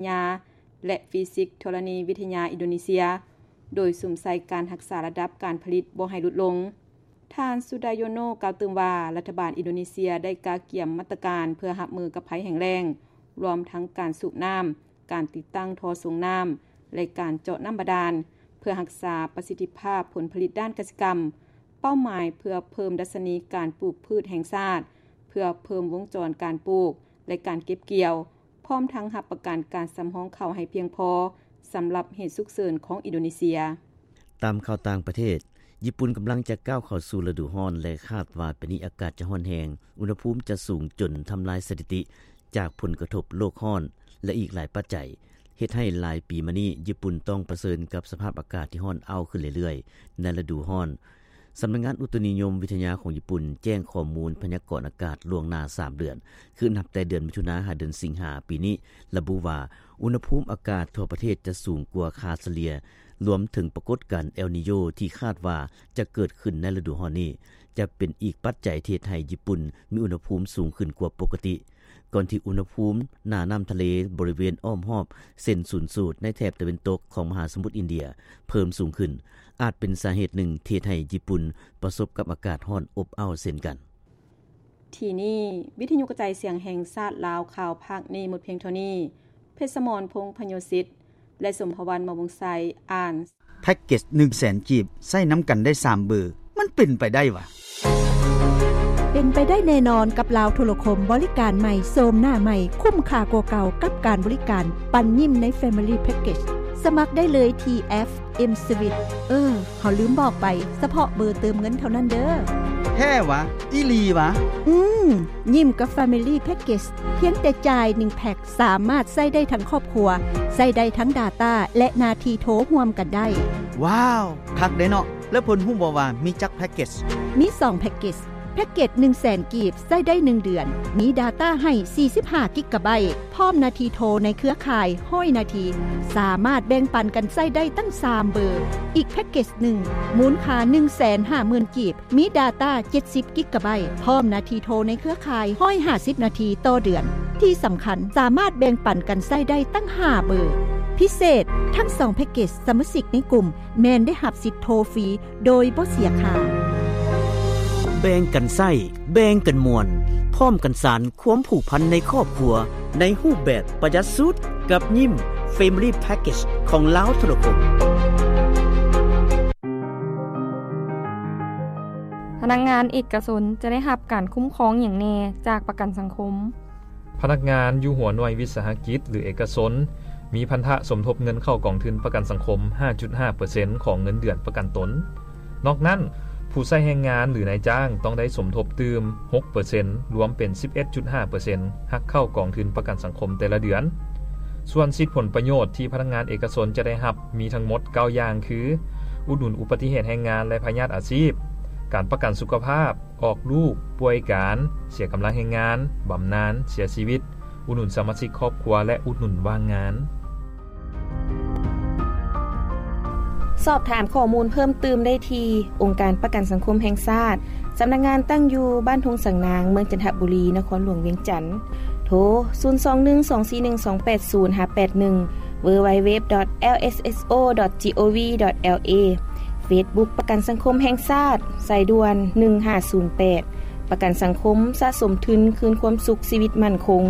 ຍາ ແລະ ຟີຊິກທໍລະນີວິທະຍາອິນໂດເນເຊຍ, ໂດຍສຸມໃສ່ການຮັກສາລະດັບການຜະລິດບໍ່ໃຫ້ຫຼຸດລົງ. ທ່ານ ສຸດາໂຍໂນ ກ່າວຕື່ມວ່າ ລັດຖະບານອິນໂດເນເຊຍໄດ້ກະກຽມມາດຕະການເພື່ອຮັບມືກັບໄພແຫ້ງແລ້ງ, ລວມທັງການສູບນ້ຳ, ການຕິດຕັ້ງທໍ່ສົ່ງນ້ຳ ແລະ ການເຈາະນ້ຳບາດານ ເພື່ອຮັກສາປະສິດທິພາບຜົນຜະລິດດ້ານກະສິກຳ, ເປົ້າໝາຍເພື່ອເພີ່ມດັດຊະນີການປູກພືດແຫ່ງຊາດ, ເພື່ອເພີ່ມວົງຈອນການປູກ ແລະ ການເກັບກ່ຽວ, ພ້ອມທັງຮັບປະກັນການສຳຮອງເຂົ້າໃຫ້ພຽງພໍສຳລັບເຫດສຸກເສີນຂອງອິນໂດເນເຊຍ. ຕາມຂ່າວຕ່າງປະເທດ, ຍີ່ປຸ່ນກຳລັງຈະກ້າວເຂົ້າສູ່ລະດູຮ້ອນ ແລະ ຄາດວ່າປີນີ້ອາກາດຈະຮ້ອນແຮງ, ອຸນຫະພູມຈະສູງຈົນທຳລາຍສະຖິຕິຈາກຜົນກະທົບໂລກຮ້ອນ ແລະ ອີກຫຼາຍປັດໄຈ, ເຮັດໃຫ້ຫຼາຍປີມານີ້ຍີ່ປຸ່ນຕ້ອງປະເຊີນກັບສະພາບອາກາດທີ່ຮ້ອນອ້າວຂຶ້ນເລື້ອຍໆ ໃນລະດູຮ້ອນ. ສຳນັກງານອຸຕຸນິຍົມວິທະຍາຂອງຍີ່ປຸ່ນແຈ້ງຂໍ້ມູນພະຍາກອນອາກາດລ່ວງໜ້າສາມເດືອນ, ຄືນັບແຕ່ເດືອນມິຖຸນາຫາເດືອນສິງຫາປີນີ້, ລະບຸວ່າ ອຸນຫະພູມອາກາດທົ່ວປະເທດຈະສູງກວ່າຄ່າສະເລ່ຍ, ລວມເຖິງປາກົດການເອລນີໂຍທີ່ຄາດວ່າຈະເກີດຂຶ້ນໃນລະດູຮ້ອນນີ້, ຈະເປັນອີກປັດໄຈທີ່ເຮັດໃຫ້ຍີ່ປຸ່ນມີອຸນຫະພູມສູງຂຶ້ນກວ່າປົກກະຕິ. ກ່ອນທີ່ອຸນຫະພູມໜ້ານ້ຳທະເລບໍລິເວນອ້ອມຮອບເສັ້ນສູນສູດໃນແຖບຕາເວັນຕົກຂອງມະຫາສະໝຸດອິນເດຍເພີ່ມສູງຂຶ້ນ, ອາດເປັນສາເຫດໜຶ່ງທີ່ເຮັດໃຫ້ຍີ່ປຸ່ນປະສົບກັບອາກາດຮ້ອນອົບເອົ້າເຊັ່ນກັນ. ທີ່ນີ້ ວິທະຍຸກະຈາຍສຽງແຫ່ງຊາດລາວ ຂ່າວພາກນີ້ໝົດພຽງເທົ່ານີ້. ເພັດສະໝອນ ພົງພະໂຍສິດ ແລະ ສົມພະວັນ ມະວົງໄຊ ອ່ານ. ແພັກເກັດໜຶ່ງແສນກີບ ໃຊ້ນຳກັນໄດ້ສາມເບີ ມັນເປັນໄປໄດ້ຫວາ? ເປັນໄປໄດ້ແນ່ນອນກັບລາວໂທລະຄົມ ບໍລິການໃໝ່ ໂສມໜ້າໃໝ່ ຄຸ້ມຄ່າກວ່າເກົ່າກັບການບໍລິການ ປັນຍິ້ມໃນ Family Package. ສະໝັກໄດ້ເລີຍທີ່ແອັບ M-Swiss. ເອີ ເຮົາລືມບອກໄປ, ສະເພາະເບີເຕີມເງິນເທົ່ານັ້ນເດີ. ແທ້ຫວາ? ອີ່ຫຼີຫວາ? ອືມ, ຍິ້ມກັບ Family Package ພຽງແຕ່ຈ່າຍໜຶ່ງແພັກ ສາມາດໃຊ້ໄດ້ທັງຄອບຄົວ, ໃຊ້ໄດ້ທັງ data ແລະ ໜ້າທີ່ໂທຮ່ວມກັນໄດ້. ວ້າວ, ຄັກເດ້ເນາະ. ແລ້ວເພິ່ນຮູ້ບໍ່ວ່າມີຈັກແພັກເກັດ? ມີສອງແພັກເກັດ. ແພັກເກັດໜຶ່ງແສນກີບ ໃຊ້ໄດ້ໜຶ່ງເດືອນ, ມີ data ໃຫ້ສີ່ສິບຫ້າກິກກາໄບ, ພ້ອມໜ້າທີ່ໂທໃນເຄືອຂ່າຍຮ້ອຍນາທີ, ສາມາດແບ່ງປັນກັນໃຊ້ໄດ້ຕັ້ງສາມເບີ. ອີກແພັກເກັດໜຶ່ງ ມູນຄ່າໜຶ່ງແສນຫ້າໝື່ນກີບ, ມີ data ເຈັດສິບກິກກາໄບ, ພ້ອມໜ້າທີ່ໂທໃນເຄືອຂ່າຍຮ້ອຍຫ້າສິບນາທີຕໍ່ເດືອນ. ທີ່ສຳຄັນ, ສາມາດແບ່ງປັນກັນໃຊ້ໄດ້ຕັ້ງຫ້າເບີ. ພິເສດ, ທັງສອງແພັກເກັດ, ສະມາຊິກໃນກຸ່ມແມ່ນໄດ້ຮັບສິດໂທຟຣີໂດຍບໍ່ເສຍຄ່າ. ແບ່ງກັນໃຊ້, ແບ່ງກັນມ່ວນ, ພ້ອມກັນສານຄວາມຜູກພັນໃນຄອບຄົວ ໃນຮູບແບບປະຢັດສຸດ ກັບຍິ້ມ Family Package ຂອງລາວໂທລະຄົມ. ພະນັກງານເອກະຊົນຈະໄດ້ຮັບການຄຸ້ມຄອງຫຍັງແດ່ຈາກປະກັນສັງຄົມ? ພະນັກງານຢູ່ຫົວໜ່ວຍວິສາຫະກິດ ຫຼື ເອກະຊົນ ມີພັນທະສົມທົບເງິນເຂົ້າກອງທຶນປະກັນສັງຄົມ ຫ້າຈຸດຫ້າເປີເຊັນ ຂອງເງິນເດືອນປະກັນຕົນ. ນອກນັ້ນ, ຜູ້ໃຊ້ແຮງງານ ຫຼື ນາຍຈ້າງ ຕ້ອງໄດ້ສົມທົບຕື່ມ ຫົກເປີເຊັນ ລວມເປັນ ສິບເອັດຈຸດຫ້າເປີເຊັນ ຫັກເຂົ້າກອງທຶນປະກັນສັງຄົມແຕ່ລະເດືອນ. ສ່ວນສິດຜົນປະໂຫຍດທີ່ພະນັກງານເອກະຊົນຈະໄດ້ຮັບ ມີທັງໝົດເກົ້າຢ່າງ ຄື ອຸດໜູນອຸປະຕິເຫດແຮງງານ ແລະ ພະຍາດອາຊີບ, ການປະກັນສຸຂະພາບ, ອອກລູກ, ປ່ວຍການ, ເສຍກຳລັງແຮງງານ, ບຳນານ, ເສຍຊີວິດ, ອຸດໜູນສະມາຊິກຄອບຄົວ ແລະ ອຸດໜູນວ່າງງານ. ສອບຖາມຂໍ້ມູນເພີ່ມຕື່ມໄດ້ທີ່ອົງການປະກັນສັງຄົມແຫ່ງຊາດ, ສຳນັກງານຕັ້ງຢູ່ບ້ານທົ່ງສັງນາງ, ເມືອງຈັນທະບູລີ, ນະຄອນຫຼວງວຽງຈັນ. ໂທ ສູນສອງໜຶ່ງສອງສີ່ໜຶ່ງສອງແປດສູນ ຫາ ແປດໜຶ່ງ www.lsso.gov.la. Facebook ປະກັນສັງຄົມແຫ່ງຊາດ, ສາຍດ່ວນ ໜຶ່ງຫ້າສູນແປດ. ປະກັນສັງຄົມ, ສະສົມທຶນຄືນຄວາມສຸກ, ຊີວິດໝັ້ນຄົງ.